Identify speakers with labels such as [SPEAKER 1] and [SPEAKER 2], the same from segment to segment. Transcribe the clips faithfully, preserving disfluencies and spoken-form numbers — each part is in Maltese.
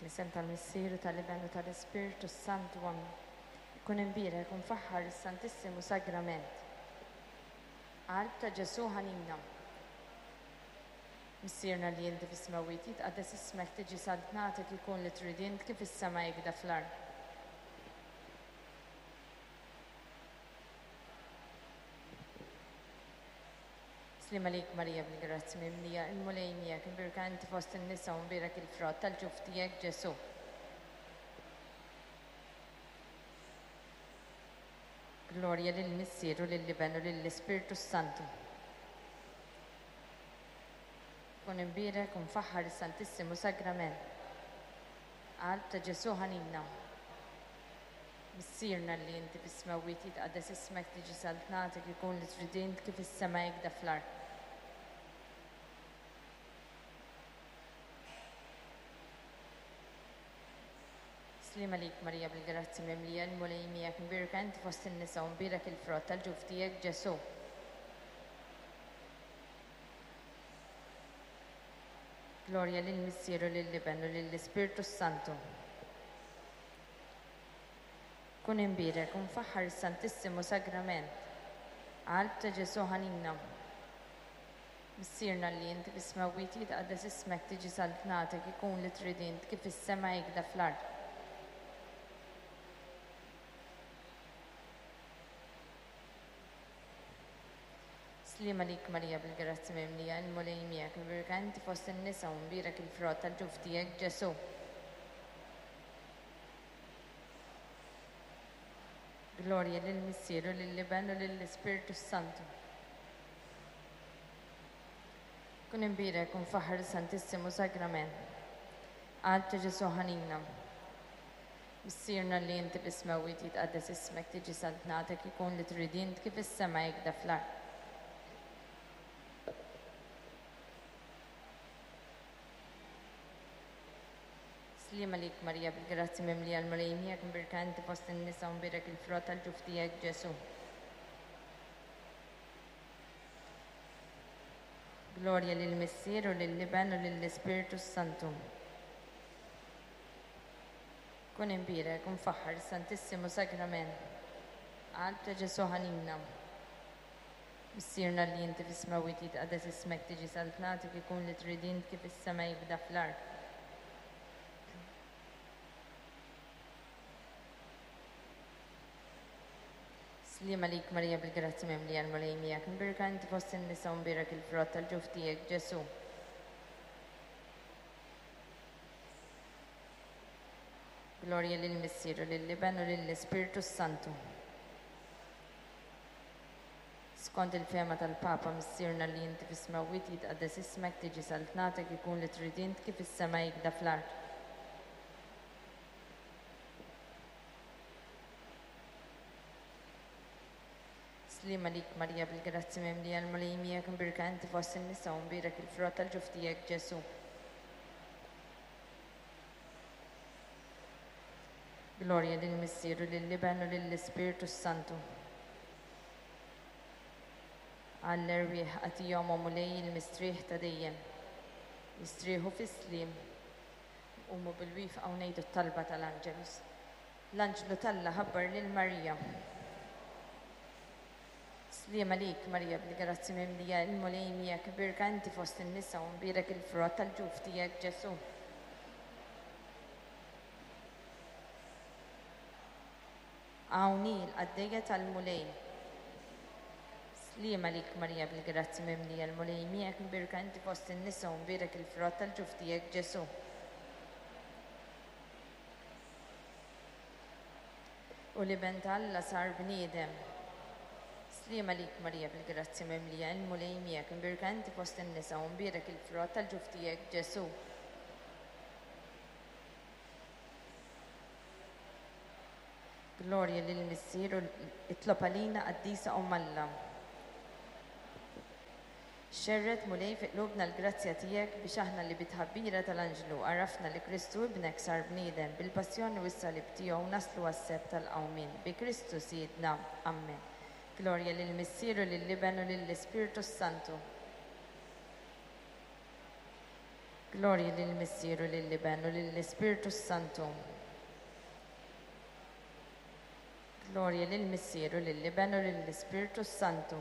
[SPEAKER 1] L-isem tal-Missier u tal-Iben u tal-Ispirtu Santu. Amen. Ikun imbierek u mfaħħar is-Santissimu Sagrament. Qalb ta' Ġesù ħanina. Missierna li inti fis-smewwiet jitqaddes ismek tiġi saltnatek ikun li trid int kif is-sema jikda fl-art. Slim għalik Marija bil-grazzi mimlija, il-Mulej miegħek, imbierka inti fost in-nisa u mbierek il-frott tal-ġuf tiegħek Ġesù. Glorja lill-Missier u lill-Iben u lill-Ispirtu Santu. Kun imbierek u mfaħħar is-Santissimu Sagrament. Qalb ta' Ġesù ħanina. Missierna li inti fis-smewwiet jitqaddes ismek tiġi saltnatek ikun li trid int kif is-sema jikda fl-art. Slim għalik Marija bil-grazzi mimlija l-Mulej miegħek imbierka inti fost in-nisa u mbierek il-frott tal-ġuf tiegħek Ġesù. Glorja lill-Missier u lill-Iben u lill-Ispirtu Santu. Kun imbierek u mfaħħar is-Santissimu Sagrament. Qalb ta' Ġesù ħanina. Missierna li inti fis-smewwiet jitqaddes ismek tiġi saltnatek ikun li trid int kif is-sema jikda fl-art. Slim għalik Marija bil-grazzi mimlija, il-Mulej miegħek, imbierka inti fost in-nisa u mbierek il-frott tal-ġuf tiegħek Ġesù. Glorja lill-Missier u lill-Iben u lill-Ispirtu Santu. Kun imbierek u mfaħħar is-Santissimu Sagrament. Qalb ta' Ġesù ħanina. Missierna li inti fis-smewwiet jitqaddes ismek tiġi saltnatek ikun li trid int kif is-sema jikda fl-art. Slim għalik Marija bil-grazzi mimlija l-Mulej miegħek imbierka inti fost in-nisa u mbierek il-frott tal-ġuf tiegħek Ġesù. Glorja lill-Missier u lill-Iben u lill-Ispirtu Santu. Kun imbierek u mfaħħar is-Santissimu Sagrament. Qalb ta' Ġesù ħanina. Missierna li inti fis-smewwiet jitqaddes ismek tiġi saltnatek ikun li trid int kif is-sema jibda fl-art. Slim għalik Marija bil-grazzi mimlija l-Mulej miegħek, imbierka inti fost in-nisa u mbierek il-frott tal-ġuf tiegħek Ġesù. Glorja lill-Missier u lill-Iben u lill-Ispirtu Santu. Skont il-fema tal-Papa Missierna li inti fis-smewwiet jitqaddes ismek tiġi saltnatek ikun li trid int kif is-sema jikda fl-art. Slim għalik Marija bil-grazzi mimlija l-Mulej miegħek imbierka inti fost in-nisa u mbierek il-frott tal-ġuf tiegħek Ġesù. Glorja lill-Missier u lill-Iben u lill-Ispirtu Santu. Għall-erwieħ agħtihom o Mulej il-mistrieħ ta' dejjem. Jistrieħu fis-sliem. Qumu bil-wieqfa u ngħidu t-talba tal-Angelus. L-Anġlu t'Alla ħabbar lil Marija. Slim għalik Marija bil-grazzi mimlija il-Mulej miegħek imbierka inti fost in-nisa u mbierek il-frott tal-ġuf tiegħek Ġesù. Hawn hi l-qaddejja tal-Mulej. Slim għalik Marija bil-grazzi mimlija l-Mulej miegħek imbierka inti fost in-nisa u mbierek il-frott tal-ġuf tiegħek Ġesù. U l-Iben t'Alla sar bniedem. Slim għalik Marija bil-grazzi mimlija il-Mulej miegħek imbierka inti fost in-nisa u mbierek il-frott tal-ġuf tiegħek Ġesù. Glorja lill-Missier u itlob għalina qaddisa Omm Alla. Xerred Mulej fi qlubna l-grazzja tiegħek biex aħna li bit-tħabbira tal-Anġlu għarafna li Kristu ibnek sar bniedem bil-passjoni u s-salib tiegħu naslu għas-sebħ tal-qawmien. Bi Kristu Sidna. Amen. Glorja lill-Missier u lill-Iben u lill-Ispirtu Santu. Glorja lill-Missier u lill-Iben u lill-Ispirtu s-Santu. Glorja lill-Missier u lill-Iben u lill-Ispirtu s-Santu.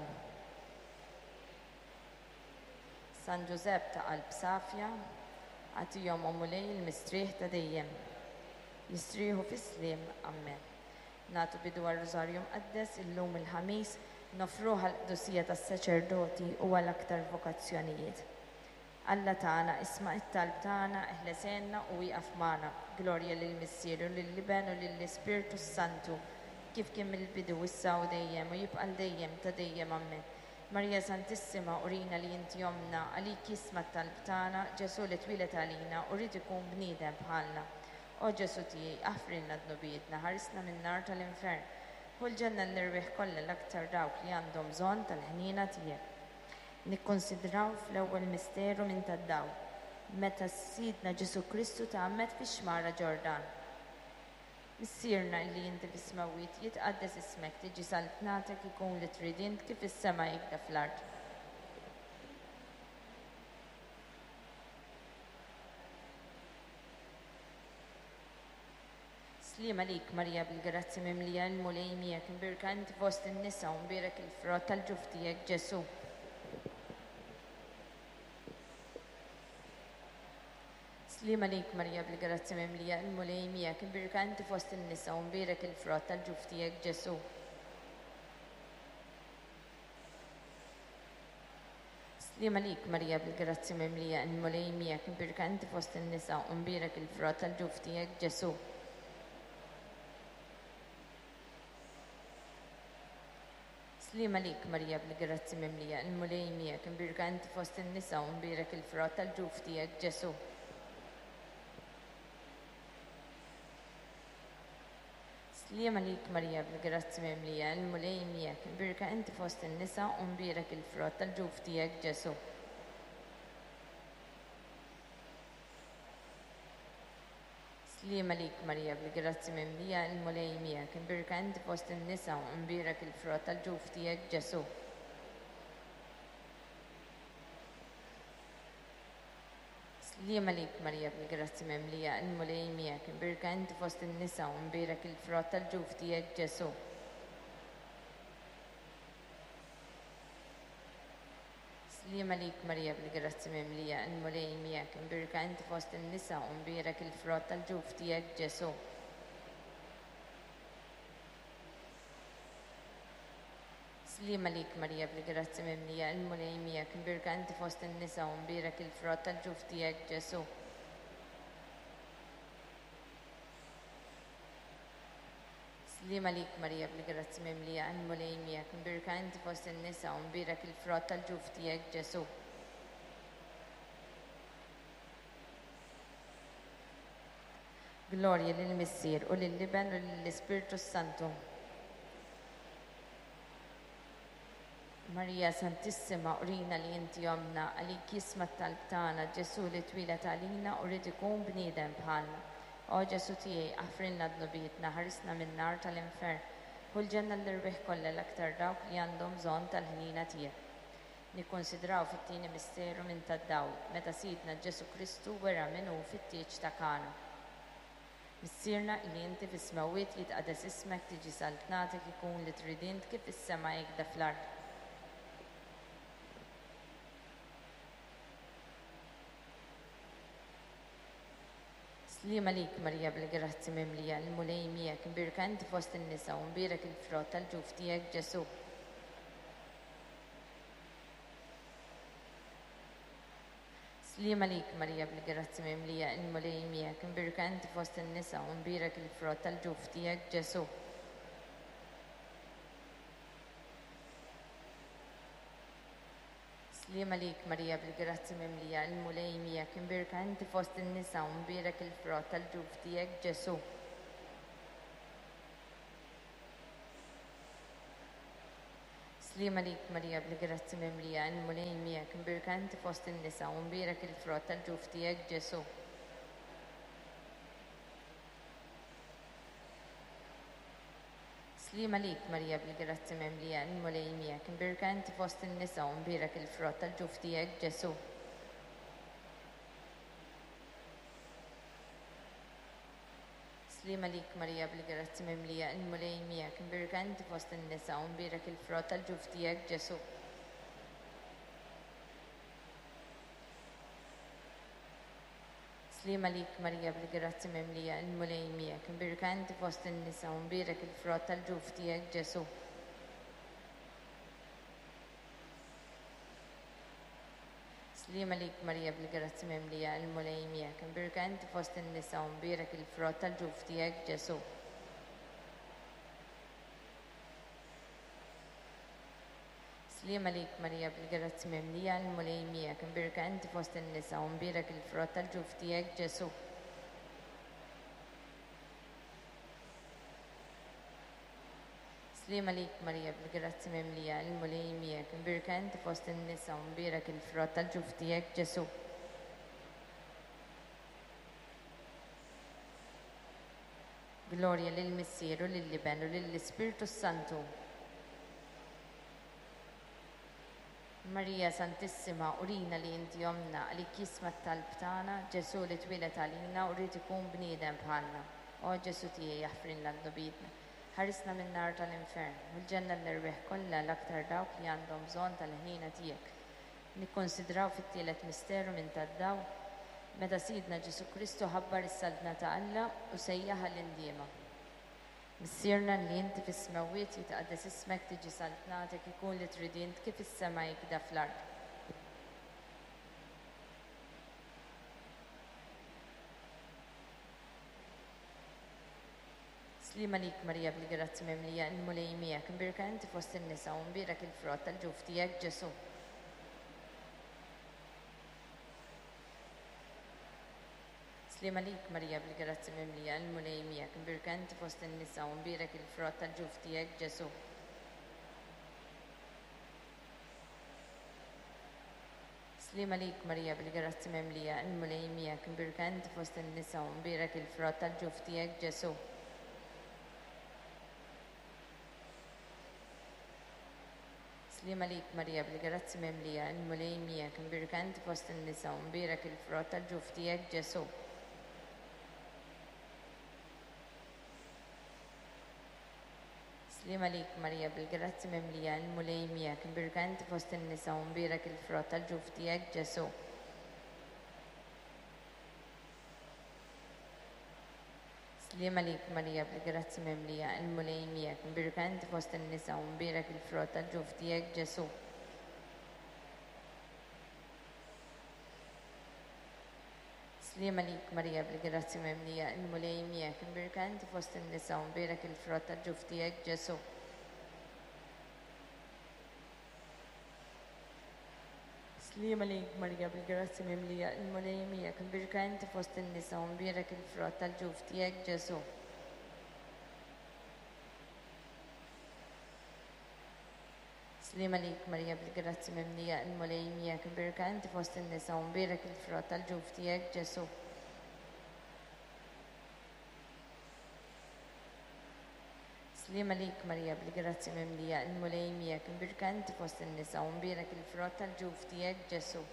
[SPEAKER 1] San Ġużepp ta' qalb safja, agħtihom, o Mulej, il-mistrieħ ta' dejjem. Jistrieħu fis-sliem. Amen. Nagħtu bidu għar-Rużarju Mqaddes illum il-Ħamis, nofruh għall-qdusija tas-saċerdoti u għal aktar vokazzjonijiet. Alla tagħna, isma' it-talb tagħna, eħles għinna u wieqaf magħna. Glorja lill-Missier u lill-Iben u lill-Ispirtu s-Santu, kif kien mill-bidu, issa u dejjem, u jibqa' l dejjem ta' dejjem. Amen. Marija Santissima, urina li inti ommna, għalik jisma' t-talb tagħna, Ġesù li twieled għalina u ried ikun bniedem bħalna. O Ġesù tiegħi, aħfrilna dnubietna, ħarisna min-nar tal-infern. Ħu l-ġenna l-erwieħ kollha, l-aktar dawk li għandhom bżonn tal-ħniena tiegħek. Nikkonsidraw fl-ewwel misteru minn tad-dawl, meta Sidna Ġesù Kristu tgħammed fix-xmara Ġordan. Missierna illi inti fis-smewwiet, jitqaddes ismek, tiġi saltnatek, ikun li trid int kif is-sema hekk fl-art. Sliem għalik Marija bil-grazzja mimlija, il-Mulej miegħek, imbierka inti fost in-nisa u mbierek il-frott tal-ġuf tiegħek Ġesù. Sliem għalik Marija bil-grazzja mimlija, il-Mulej miegħek, imbierka inti fost in-nisa u mbierek il-frott tal-ġuf tiegħek Ġesù. Sliem għalik Marija bil-grazzja mimlija, il-Mulej miegħek, imbierka inti fost in-nisa u mbierek il-frott tal-ġuf tiegħek Ġesù. Sliem għalik Marija bil-grazzja mimlija, il-Mulej miegħek, imbierka inti fost in-nisa u mbierek il-frott tal-ġuf tiegħek Ġesù. Sliem għalik Marija bil-grazzja mimlija, il-Mulej miegħek, imbierka inti fost in-nisa u mbierek il-frott tal-ġuf tiegħek Ġesù. Sliem għalik Marija bil-grazzja mimlija, il-Mulej miegħek, imbierka inti fost in-nisa u mbierek il-frott tal-ġuf tiegħek Ġesù. Sliem għalik Marija bil-grazzja mimlija, il-Mulej miegħek, imbierka inti fost in-nisa u mbierek il-frott tal-ġuf tiegħek Ġesù. Sliem għalik Marija bil-grazzja mimlija, il-Mulej miegħek, imbierka inti fost in-nisa u mbierek il-frott tal-ġuf tiegħek Ġesù. Sliem għalik Marija bil-grazzja mimlija, il-Mulej miegħek, imbierka inti fost in-nisa u mbierek il-frott tal-ġuf tiegħek Ġesù. Sliem għalik Marija bil-grazzja mimlija, il-Mulej miegħek, imbierka inti fost in-nisa u mbierek il-frott tal-ġuf tiegħek Ġesù. Glorja lill-Missier u lill-Iben u lill-Ispirtu s-Santu. Marija Santissima, urina li inti ommna, għalik jisma' t-talb tagħna, Ġesù li twieled għalina u ried ikun bniedem bħalna. O Ġesù tiegħi, aħfrilna dnubietna, ħarisna min-nar tal-infern. Ħu l-ġenna l-erwieħ kollha, l-aktar dawk li għandhom bżonn tal-ħniena tiegħek. Nikkonsidraw fit-tieni misteru minn tad-dawl, meta Sidna Ġesù Kristu wera min hu fit-tieġ ta' Kana. Missierna li inti fis-smewwiet, jitqaddes ismek, tiġi saltnatek, ikun li trid int kif is-sema hekk fl-art. Sliem għalik Marija bil-grazzi mimlija, il-Mulej miegħek, imbierka inti fost in-nisa u mbierek il-frott tal-ġuf tiegħek Ġesù. Sliem għalik Marija bil-grazzi mimlija, il-Mulej miegħek, imbierka inti fost in-nisa u mbierek il-frott tal-ġuf tiegħek Ġesù. Sliem għalik Marija bil-grazzi mimlija, il-Mulej miegħek, imbierka inti fost in-nisa u mbierek il-frott tal-ġuf tiegħek Ġesù. Sliem għalik Marija bil-grazzi mimlija, il-Mulej miegħek, imbierka inti fost in-nisa u mbierek il-frott tal-ġuf tiegħek Ġesù. Sliem għalik Marija bil-grazzi mimlija, il-Mulej miegħek, imbierka inti fost in-nisa u mbierek il-frott tal-ġuf tiegħek Ġesù. Sliema lik Marija bil-grazzi mimlija, il-Mulej miegħek, imbierka inti fost in-nisa u mbierek il-frott tal-ġuf tiegħek Ġesu. Sliema lik Marija bil-grazzi mimlija, il-Mulej miegħek, imbierka inti fost in-nisa u mbierek il-frott tal-ġuf tiegħek Ġesu. Sliema lik Marija bil-grazzi mimlija, il-Mulej miegħek, imbierka inti fost in-nisa u mbierek il-frott tal-ġuf tiegħek Ġesu. Sliema lik Marija bil-grazzi mimlija, il-Mulej miegħek, imbierka inti fost in-nisa u mbierek il-frott tal-ġuf tiegħek Ġesu. Sliema lik Marija bil-grazzi mimlija, il-Mulej miegħek, imbierka inti fost in-nisa u mbierek il-frott tal-ġuf tiegħek Ġesu. Glorja lill-Missier u lill-Iben u lill-Ispirtu s-Santu. Marija Santissima, urina li inti ommna, għalik jisma' t-talb tagħna, Ġesu li twieled għalina u rrid ikun bniedem bħalna. O Ġesu tiegħi jaħfrilna dnubietna. Ħarisna min-nar tal-infern u l-ġenna l-erwieħ kollha l-aktar dawk li għandhom bżonn tal-ħniena tiegħek. Nikkonsidraw fit-tielet misteru minn tad-dawl meta Sidna Ġesu Kristu ħabbar is-saltna ta' Alla u sejjaħ għall-indiema. Missierna li inti fis-smewwiet jitqaddes ismek, tiġi saltnatek, ikun li trid int kif is-sema jikda fl-art. Sliema lik Marija bil-grazzi mimlija, il-Mulej miegħek, imbierka inti fost in-nisa u mbierek il-frott tal-ġuf tiegħek Ġesu. Sliema lik Marija bil-grazzi mimlija, il-Mulej miegħek, imbierka inti fost in-nisa u mbierek il-frott tal-ġuf tiegħek Ġesu. Sliema lik Marija bil-grazzi mimlija, il-Mulej miegħek, imbierka inti fost in-nisa u mbierek il-frott tal-ġuf tiegħek Ġesu. Sliema lik Marija bil-grazzi mimlija, il-Mulej miegħek, imbierka inti fost in-nisa u mbierek il-frott tal-ġuf tiegħek Ġesu. Sliema lik Marija bil-grazzi mimlija, il-Mulej miegħek, imbierka inti fost in-nisa u mbierek il-frott tal-ġuf tiegħek Ġesu. Sliema lik Marija bil-grazzi mimlija, il-Mulej miegħek, imbierka inti fost in-nisa u mbierek il-frott tal-ġuf tiegħek Ġesu. Sliema lik Marija bil-grazzi mimlija, il-Mulej miegħek, imbierka inti fost in-nisa u mbierek il-frott tal-ġuf tiegħek Ġesu. Sliema lik Marija bil-grazzi mimlija, il-Mulej miegħek, imbierka inti fost in-nisa u mbierek il-frott tal-ġuf tiegħek Ġesu. Sliema lik Marija bil-grazzi mimlija, il-Mulej miegħek, imbierka inti fost in-nisa u mbierek il-frott tal-ġuf tiegħek Ġesu. Sliema lik Marija bil-grazzi mimlija, il-Mulej miegħek, imbierka inti fost in-nisa u mbierek il-frott tal-ġuf tiegħek Ġesu.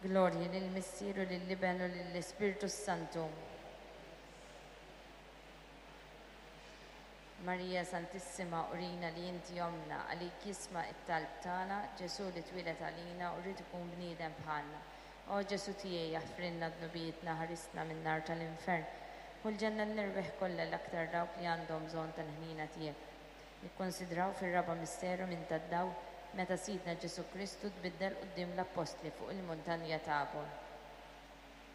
[SPEAKER 1] Glorja lill-Missier u lill-Iben u lill-Ispirtu s-Santu. Marija Santissima, urina li inti ommna, għalik jisma' it-talb tagħna, Ġesu li twieled għalina u rrid ikun bniedem bħalna. O Ġesu tiegħi jaħfrilna dnubietna, ħarisna min-nar tal-infern u l-ġenna l-erwieħ kollha l-aktar dawk li għandhom bżonn tal-ħniena tiegħek. Nikkonsidraw fir-raba' misteru minn tad-dawl meta Sidna Ġesu Kristu tbiddel quddiem l-appostli fuq il-muntanja Tabor.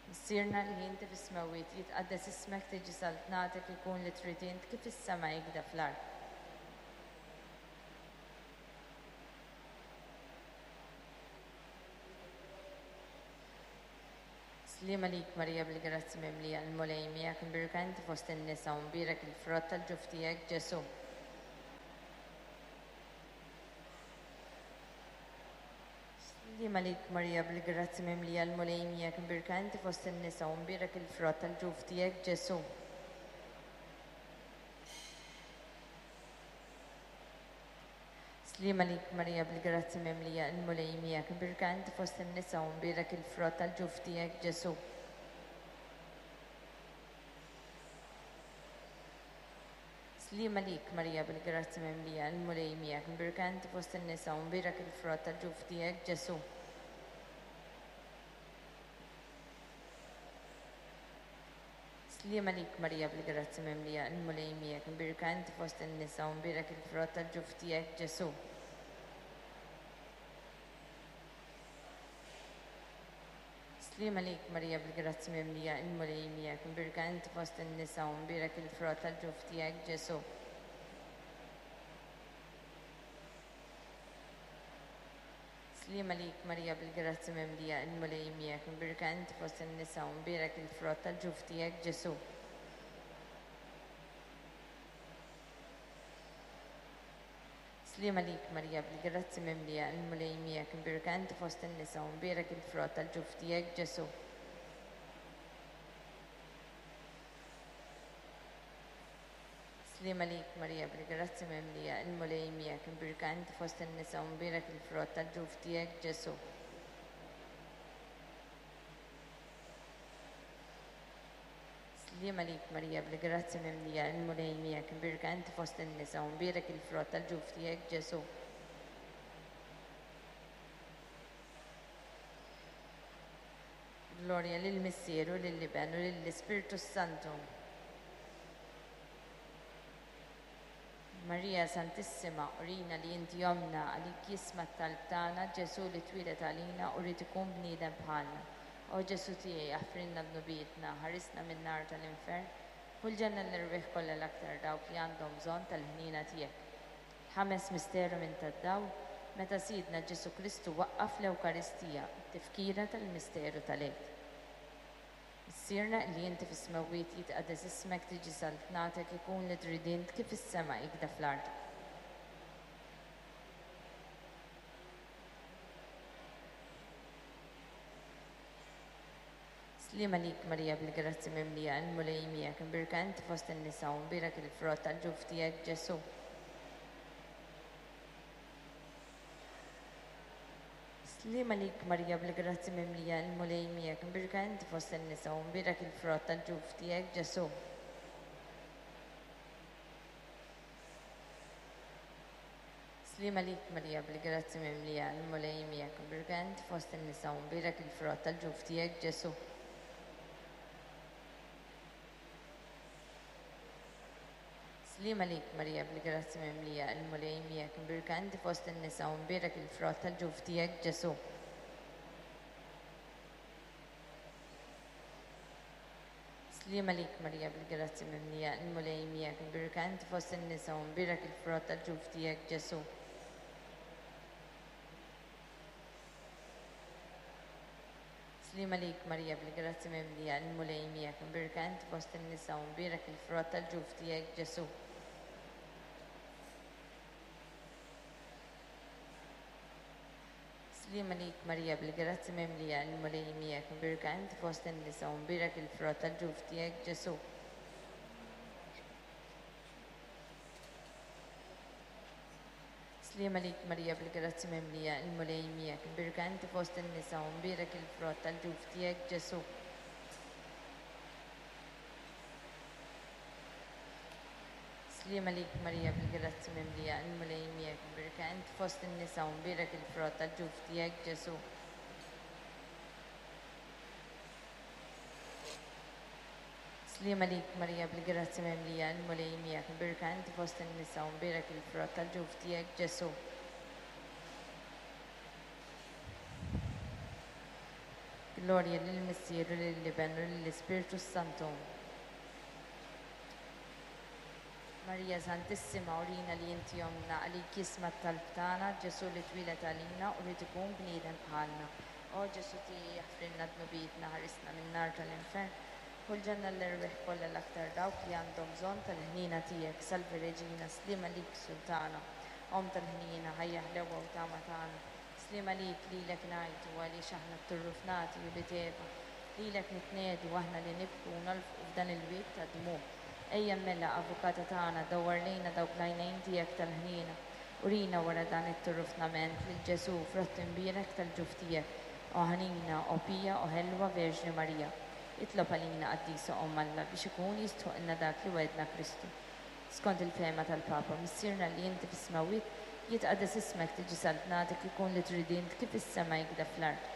[SPEAKER 1] Missierna li inti fis-smewwiet, jitqaddes ismek, tiġi saltnatek, ikun li trid int kif is-sema jikda fl-art. Sliema lik Marija bil-grazzi mimlija, il-Mulej miegħek, imbierka inti fost in-nisa u mbierek il-frott tal-ġuf tiegħek Ġesu. Sliema lik Marija bil-grazzi mimlija, il-Mulej miegħek, imbierka inti fost in-nisa u mbierek il-frott tal-ġuf tiegħek Ġesu. Sliema lik Marija bil-grazzi mimlija il-Mulej miegħek, imbierka inti fost in-nisa u mbierek il-frott tal-ġuf tiegħek Ġesu. Sliema lik Marija bil-grazzi mimlija il-Mulej miegħek, imbierka inti fost in-nisa u mbierek il-frott tal-ġuf tiegħek Ġesu. Sliema lik Marija bil-grazzi mimlija il-Mulej miegħek, imbierka inti fost in-nisa u mbierek il-frott tal-ġuf tiegħek Ġesu. Sliema lik Marija bil-grazzi mimlija il-Mulej miegħek, imbierka inti fost in-nisa u mbierek il-frott tal-ġuf tiegħek Ġesu. Sliema lik Marija bil-grazzi mimlija il-Mulej miegħek, imbierka inti fost in-nisa u mbierek il-frott tal-ġuf tiegħek Ġesu. Sliema lik Marija bil-grazzi mimlija il-Mulej miegħek, imbierka inti fost in-nisa u mbierek il-frott tal-ġuf tiegħek Ġesu. Sliema lik Marija bil-grazzi mimlija il-Mulej miegħek, imbierka inti fost in-nisa u mbierek il-frott tal-ġuf tiegħek Ġesu. Sliema lik Marija bil-grazzi mimlija il-Mulej miegħek, imbierka inti fost in-nisa u mbierek il-frott tal-ġuf tiegħek Ġesu. Glorja lill-Missier u lill-Iben u lill-Ispirtu s-Santu. Marija Santissima, urina li inti omna għalik jisma' t-talb tagħna, Ġesu li twieled għalina u rrid ikun bniedem bħalna. O Ġesu tiegħi, aħfrilna dnubietna, ħarisna min-nar tal-infern, u l-ġenna l-erwieħ kollha l-aktar dawk li għandhom bżonn tal-ħniena tiegħek. Ħames misteru minn tad-dawl, meta Sidna Ġesu Kristu waqqaf l-Ewkaristija, tifkira tal-misteru tal-Għid. Missierna li inti fis-smewwiet jitqaddes ismek, tiġi saltnatek, ikun li trid int kif is-sema ikda fl-art. Sliema lik Marija bil-grazzi mimlija il-Mulej miegħek, imbierka inti fost in-nisa u mbierek il-frott tal-ġuf tiegħek Ġesu. Sliema lik Marija bil-grazzi mimlija il-Mulej miegħek, imbierka inti fost in-nisa u mbierek il-frott tal-ġuf tiegħek Ġesu. Sliema lik Marija bil-grazzi mimlija il-Mulej miegħek, imbierka inti fost in-nisa u mbierek il-frott tal-ġuf tiegħek Ġesu. Sliema lik Marija bil-grazzi mimlija il-Mulej miegħek, imbierka inti fost in-nisa u mbierek il-frott tal-ġuf tiegħek Ġesu. Sliema lik Marija bil-grazzi mimlija il-Mulej miegħek, imbierka inti fost in-nisa u mbierek il-frott tal-ġuf tiegħek Ġesu. Sliema lik Marija bil-grazzi mimlija il-Mulej miegħek, imbierka inti fost in-nisa u mbierek il-frott tal-ġuf tiegħek Ġesu. Sliema lik Marija bil-grazzi mimlija il-Mulej miegħek, imbierka inti fost in-nisa u mbierek il-frott tal-ġuf tiegħek Ġesu. Sliema lik Marija bil-grazzi mimlija il-Mulej miegħek, imbierka inti fost in-nisa u mbierek il-frott tal-ġuf tiegħek Ġesu. Sliema lik Marija bil-grazzi mimlija il-Mulej miegħek, imbierka inti fost in-nisa u mbierek il-frott tal-ġuf tiegħek Ġesu. Sliema lik Marija bil-grazzi mimlija il-Mulej miegħek, imbierka inti fost in-nisa u mbierek il-frott tal-ġuf tiegħek Ġesu. Glorja lill-Missier u lill-Iben u lill-Ispirtu s-Santu. Marija Santissima, urina li inti omna għalik jisma' t-talb tagħna, Ġesu li twieled għalina u rrid ikun bniedem bħalna. O Ġesu tiegħi, aħfrilna dnubietna, ħarisna min-nar tal-infern, u l-ġenna l-erwieħ kollha l-aktar dawk li għandhom bżonn tal-ħniena tiegħek. Salve Reġina, sliema lik Sultana, Omm tal-ħniena, ħajja ħlewa u tama tagħna. Sliema lik lilek ngħidu għaliex aħna t-turrufnati u li teva, lilek nitnedu aħna li nibku u nolfqu f'dan il-wied ta' dmugħ. Ejja mela, avukata tagħna, dawwar lejna dawk l-għajnejn tiegħek tal-ħniena Urina wara dan it-turufnament lil Ġesù frott imbierek tal-ġuf tiegħek, o ħanina, o pija, o ħelwa Verġni Marija. Itlob għalina qaddisa Omm Alla biex ikun jistħoqilna dak li wegħedna Kristu. Skont il-fehma tal-Papa, Missierna li inti fis-smewwiet, jitqaddes ismek, tiġi saltnatek, ikun li trid int kif is-sema jikda fl-art.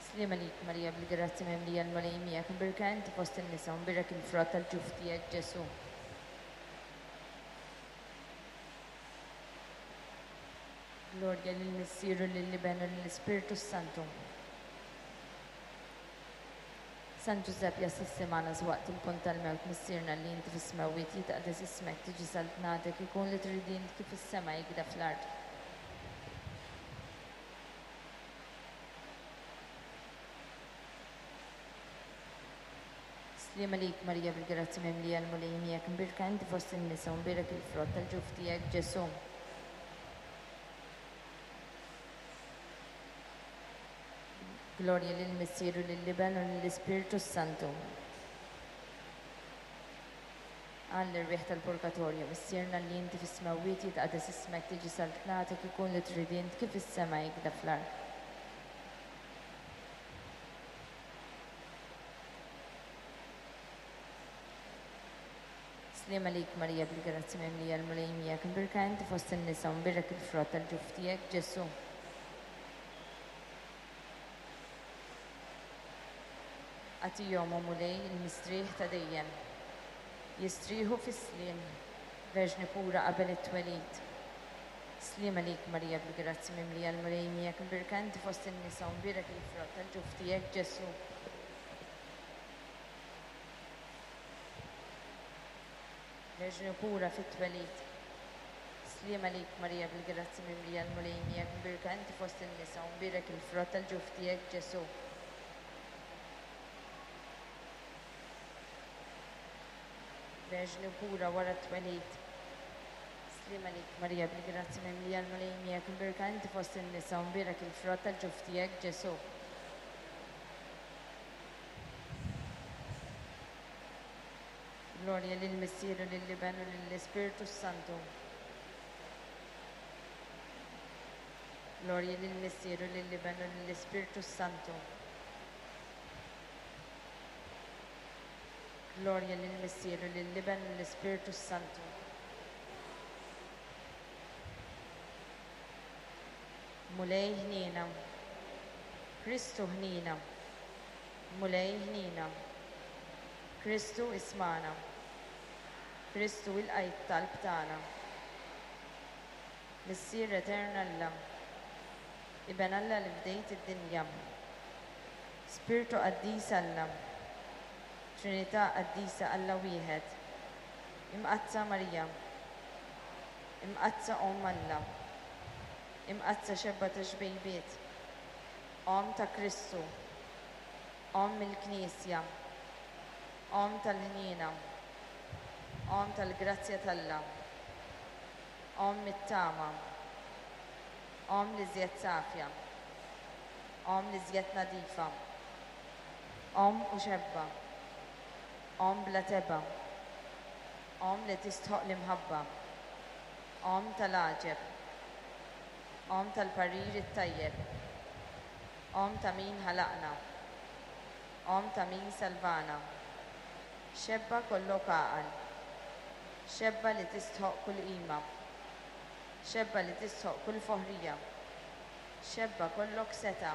[SPEAKER 1] Sliem għalik Marija bil-grazzja mimlija l-Mulej miegħek, imbierka inti fost in-nisa u mbierek il-frott tal-ġuf tiegħek Ġesù. Glorja lill-Missier u lill-Iben u lill-Ispirtu s-Santu. San Ġużepp jassisti magħna waqt il-punt tal-mewt, Missierna li inti fis-smewwiet, jitqaddes ismek, tiġi saltnatek, ikun li trid int kif is-sema jikda fl-art. Sliem għalik Marija bil-grazzja mimlija l-Mulej miegħek, imbierka inti fost in-nisa u mbierek il-frott tal-ġuf tiegħek Ġesù. Glorja lill-Missier u lill-Iben u lill-Ispirtu s-Santu. Għall-irwieħ tal-Purgatorju, Missierna li inti fis-smewwiet, jitqaddes ismek, tiġi saltnatek, ikun li trid int kif is-sema jikda fl-art. Sliem għalik Marija bil-grazzja mimlija l-Mulej miegħek, imbierka inti fost in-nisa u mbierek il-frott tal-ġuf tiegħek Ġesù. Agħtihom, o Mulej, il-mistrieħ ta' dejjem. Jistrieħu fis-sliem, Verġni pura qabel it-twelid. Sliem għalik Marija bil-grazzja mimlija l-Mulej miegħek, imbierka inti fost in-nisa u mbierek il-frott tal-ġuf tiegħek Ġesù. Verġni pura fit-twelid. Sliem għalik Marija bil-grazzja mimlija l-Mulej miegħek, imbierka inti fost in-nisa u mbierek il-frott tal-ġuf tiegħek Ġesù. Verġni pura wara t-twelid. Sliem għalik Marija bil-grazzja mimlija l-Mulej miegħek, imbierka inti fost in-nisa u mbierek il-frott tal-ġuf tiegħek Ġesù. Glorja lill-Missier u lill-Iben u lill-Ispirtu s-Santu. Glorja lill-Missier u lill-Iben u lill-Ispirtu s-Santu. Glorja lill-Missier u lill-Iben u lill-Ispirtu s-Santu. Mulej ħniena, Kristu ħniena, Mulej ħniena, Kristu ismana, Kristu ilqa' t-talb tagħna. Missier Etern Alla, Iben Alla li fdejt id-dinja, Spirtu Qaddis Alla, Trinità Qaddisa Alla wieħed, Imqaddsa Marija, Imqaddsa Omm Alla, Imqaddsa xebba ta' xbejbiet, Omm ta' Kristu, Omm il-Knisja, Omm tal-ħniena, Omm tal-grazzja t'Alla, Omm it-tama, Omm li żjed safja, Omm li żjed nadifa, Omm u xebba, Omm bla tebgħa, Omm li tistħoq l-imħabba, Omm tal-għaġeb, Omm tal-parir it-tajjeb, Omm ta' min ħalaqna, Omm ta' min salvana, xebba kollok għaqal, xebba li tistħoq kull qima, xebba li tistħoq kull foħrija, xebba kollok setgħa,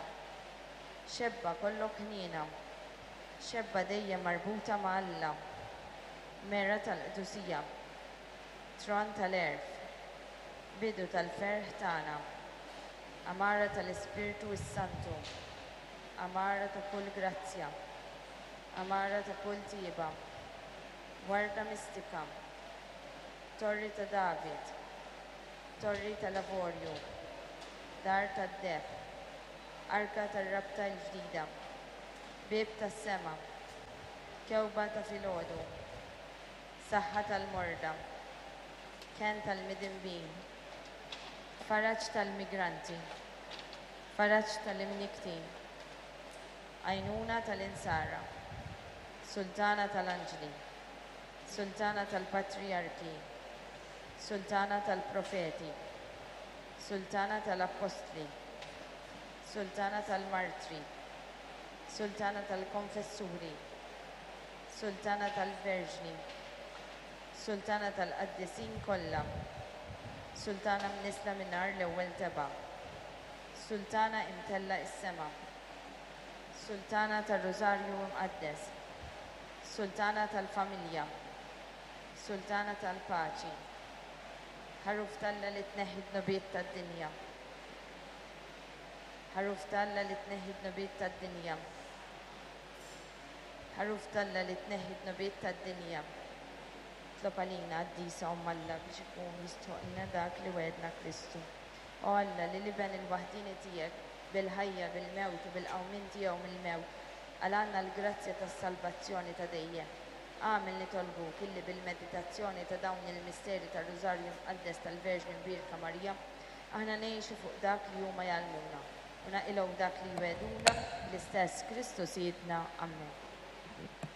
[SPEAKER 1] xebba kollok ħniena, xebba dejjem marbuta ma' Alla, mera tal-qdusija, tron tal-għerf, bidu tal-ferħ tagħna, għamara tal-Ispirtu s-Santu, għamara ta' kull grazzja, għamara ta' kull tjieba, warda mistika, torri ta' David, torri tal-avorju, dar tad-deheb, arka tar-rabta l-ġdida, bieb tas-sema, kewba ta' filgħodu, saħħa tal-morda, kenn tal-midinbin, faraġ tal-migranti, faraġ tal-imniktin, għajnuna tal-insara, Sultana tal-Anġli, Sultana tal-Patrijarki, Sultana tal-Profeti, Sultana tal-Appostli, Sultana tal-Martri, Sultana tal-Konfessuri, Sultana tal-Verġni, Sultana tal-Qaddisin kollha, Sultana mnissla mingħajr l-ewwel tebgħa, Sultana imtellgħa s-sema, Sultana tar-Rużarju Imqaddes, Sultana tal-Familja, Sultana tal-Paċi, Ħaruf t'Alla li tneħħi d-dnubiet tad-dinja. Ħaruf t'Alla li tneħħi d-dnubiet tad-dinja. Ħaruf t'Alla li tneħħi d-dnubiet tad-dinja. Itlob għalina, Qaddisa Omm Alla, biex ikun jistħoqqilna dak li wegħedna Kristu. O Alla, li l-Iben il-waħdieni tiegħek bil-ħajja, bil-mewt u bil-qawmien tiegħu mill-mewt, qalgħalna l-grazzja tas-salvazzjoni ta' dejjem. Agħmel nitolbuk illi bil-meditazzjoni ta' dawn il-misteri tar-Rużarju Mqaddes tal-Verġni Mbierka Marija, aħna ngħixu fuq dak li huma jgħallmuna u naqilgħu dak li jwegħduna, l-istess Kristu Sidna. Amen.